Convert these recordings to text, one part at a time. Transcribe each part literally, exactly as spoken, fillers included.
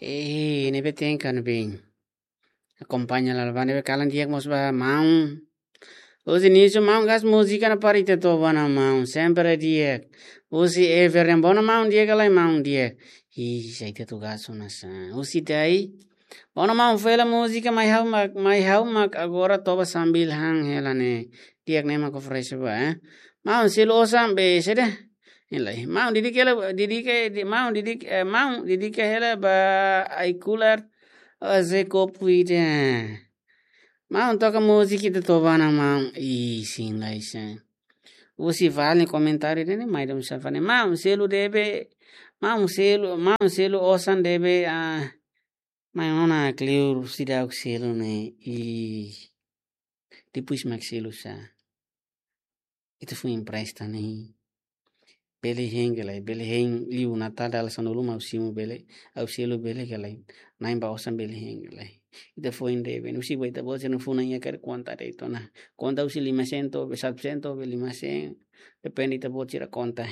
Eh, ne'ebé tenke kan bin. Akompaña lalo ba ne'ebé kalan di'ak mós ba maun. Husi inísiu maun gas múzika na parte toba na maun. Sempre di'ak. Husi Ever yang bona maun di'ak ka lae maun di'ak. Ih, sai te tu gas ona sa. Husi Dai. Bona maun fela múzika mai ha'u mak, mai ha'u mak agora toba sambil han hela ne'e. Di'ak ne'e mak oferese ba, eh. Maun selu osan be sede. Ilai. Maun didik hela, didik, di, maun didik, eh, maun didik hela ba ai kular. Oze kopu ida. Maun toka múzika ita toba na maun. Ih, sin lai sa. Husi vale komentáriu ne'e, mai dom safane. Maun selu debe, maun selu, maun selu osan debe, ah, mai ona kleur seidauk selu ne'e. Ih. Depois mak selu sa. Ita foin empresta ne'e. Bele hein ka lae, bele hein liu Natál dala sanulu mak ha'u simu bele, ha'u selu bele ka lae. Na'in ba osan bele hein ka lae. Ita foin debe, husi ba ita-boot sira-nia funan iha karik konta de'it ona. Konta husi lima sen to'o be satu sen to'o be lima sen. Depende ita-boot sira konta.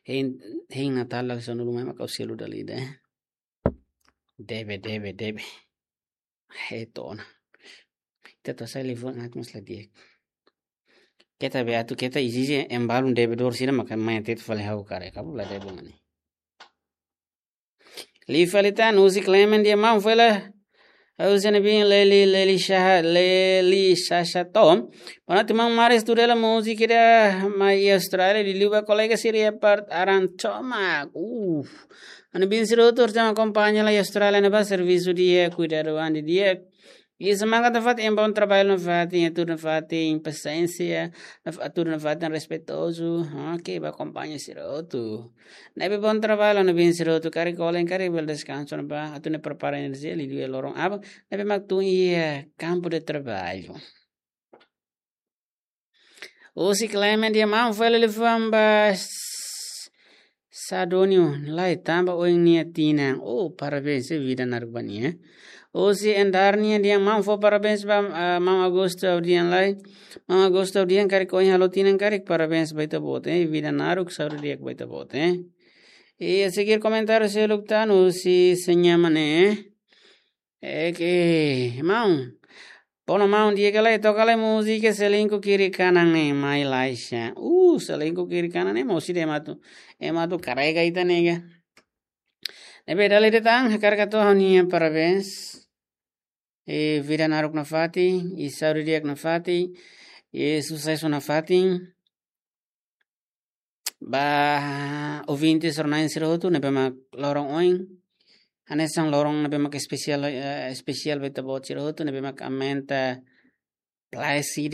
Hein, hein Natál dala sanulu mai mak ha'u selu dala ida, eh. Debe, debe, debe. Heto ona. Ita to'o sai live ngat mós la di'ak. Keta be atu keta izizi embalun debedór sira maka mai tetu fali ha'u karik. Kabu la debe mani. Li fali tan husi Clement di'ak maun fela. Husi ne'ebé Leli, Leli Shaha, Leli Shasha Tom. Bonoite maun Maris tu dela múzika ida mai Austrália liuliu ba kolega sira iha parte Aran Tomak. Uh. Ami-nia bin sira hotu mak akompaña lai Austrália ne'ebá servisu di'ak, kuidadu an di'ak. Ita mak atu fatin, em bom trabalho nafatin, atu nafatin, pasiénsia, naf-, atu nafatin respeitozu. Oke, ba akompaña sira hotu. Ne'ebé bom trabalho ami-nia bin sira hotu, karik kolen, karik bele deskansa ona ba, atu nune'e prepara enerjia, liuliu loron aban, ne'ebé mak tun iha kampu de traballu. Husi Clement di'ak maun fó liafuan ba S-, Sadonio, lai tanba oin nia tinan. Oh, parabéns, eh, vida naruk ba nia. Husi Endar nian di'ak maun fó parabéns ba, ah, maun Augusto Audian lai. Maun Augusto Audian karik oin halo tinan karik parabéns ba ita-boot, eh. Vida naruk saúde di'ak ba ita-boot, eh. I a seguir komentáriu seluk tan husi Señama ne'e, eh. Oke, maun. Bona maun di'ak ka lae, toka lai múzika Selingkuh Kiri Kanan ne'e mai lai sa. Uh, Selingkuh Kiri Kanan ne'e mosi de matu. E matu karega ita nega. Ne'ebé dala ida tan, hakarak hato'o ha'u-nia parabéns. E vida naruk nafatin, i saúde di'ak nafatin, i susesu nafatin. Ba ouvinte sira-nia sira hotu, ne'ebé mak loron oin. Hanesan loron ne'ebé mak espesiál, eh, espesiál ba ita-boot sira hotu, ne'ebé mak aumenta plaisir,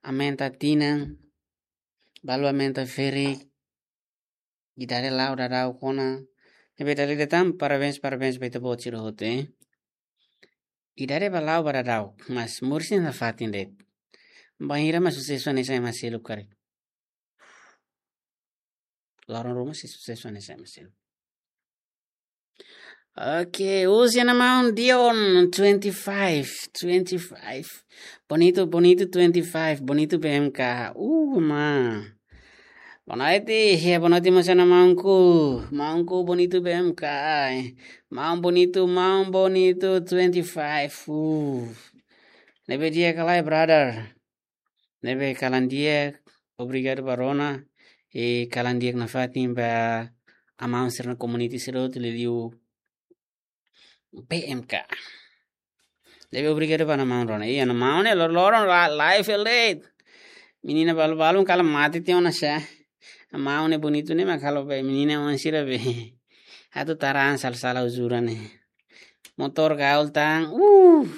aumenta tinan, balu aumenta ferik, idade la'o daudaun ona. Ne'ebé dala ida tan, parabéns, parabéns ba ita-boot sira hotu, eh. Idade ba la'o ba daudaun, mas moris ne'e nafatin de'it. Bainhira mak susesu hanesan ema seluk karik. Loron ruma sei susesu hanesan ema seluk. Oke, husi nia maun Dion, twenty-five, twenty-five. Bonito, bonito, twenty-five, bonito B M K. Uh, ma. Bonoite, ya, bonoite mós ona maunku. Maunku bonito B M K. Maun bonito, maun bonito, twenty-five. Uh. Ne'ebé di'ak ka lae, brother. Ne'ebé kalan di'ak, obrigadu ba rona, i kalan di'ak nafatin ba amaun sira-nia community sira hotu liuliu B M K. Ne'ebé obrigadu ba nia maun rona. Iya, nia maun ne'e lor-, loron la-, live el de'it. Menina balu-balu kalan mate tiha ona sa. Nia maun ne'e bonito ne'e mak halo be menina oan sira be. Atu taran sala-sala uzuran ne'e. Motór gaul tan. Uh.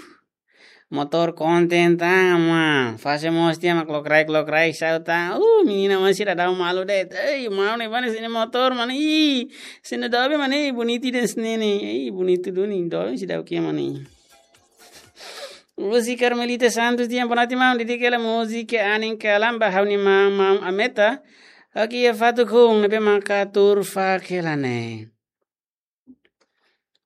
Motór konten tan, ma. Fase mós tiha mak lokraik-lokraik sa'e tan. Uh, menina oan sira daudaun malu de'it. Ei, maun ne'e bá ne'e sini motór, mani. Sini dobe, mani. Bonito de'it sini ne'e. Ei, bonito duni. Dobe seidauk iha, mani. Husi Carmelita Santos di'ak, bonoite maun, didik hela múzika anin kalan ba ha'u-nia maun, maun Ameta. Oke, iha fatuk hun, ne'ebé maka tuur faak hela ne'e.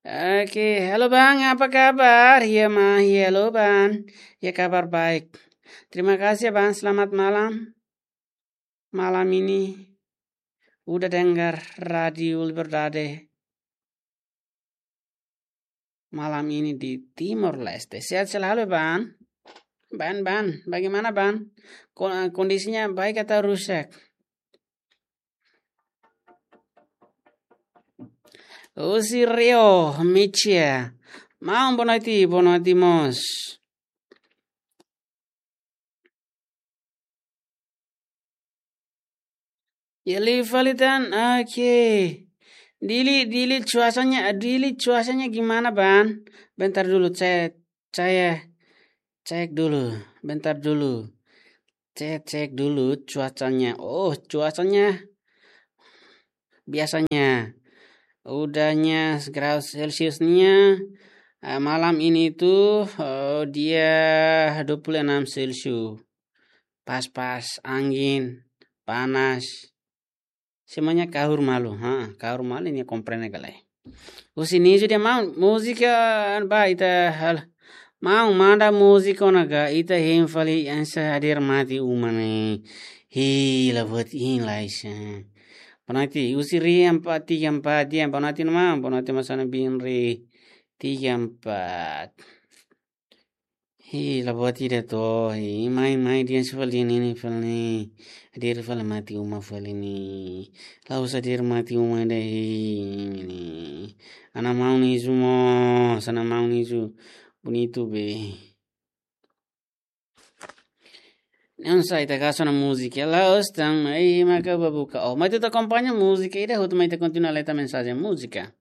Oke, halo bang, apa kabar? Iya ma, iya halo bang. Ya, kabar baik. Terima kasih bang, selamat malam. Malam ini udah dengar Radio Liberdade. malam ini di Timor Leste. Sehat selalu, Bang. Bang, Bang, bagaimana, Bang? Ko-, kondisinya baik atau rusak? Husi Rio, Michia. Maun, boa noite, boa noite, mós. Ya, liu fali tan, oke. Dili, Dili cuacanya, Dili cuacanya gimana, Bang? Bentar dulu, saya, saya cek dulu, bentar dulu. Cek, cek dulu cuacanya. Oh, cuacanya biasanya. Udahnya grau Celsiusnya, eh, malam ini itu, eh, dia dua puluh enam Celsius. Pas-pas, angin, panas. Semuanya kahur malu, ha, kahur malu, nia komprende ka lae. Husi Nizu dehan maun, múzika, ba, ita halo. Maun, manda múzika ona ka, ita hein fali hanesan hadeer mate uma ne'e. Hi, la buat hein lae sa. Boa noite, husi Rio empat tiga empat, ya, boa noite, maun, boa noite, maun, sana bin Rio tiga empat. Hi, la buat ida to, hi, mai, mai, dehan hanesan fali ne'e, ne'e fali ne'e. Hadeer fali mate uma fali ne'e. La'ós hadeer mate uma ida, hi, ne'e. Ana maun Nizu mós, ana maun Nizu bonitu be. Hanesan ita kaso na múzika, la'ós tan, ai, maka ba buka. Oh, mai ita akompaña múzika ida, hotu mai ita kontinua leta mensajen múzika.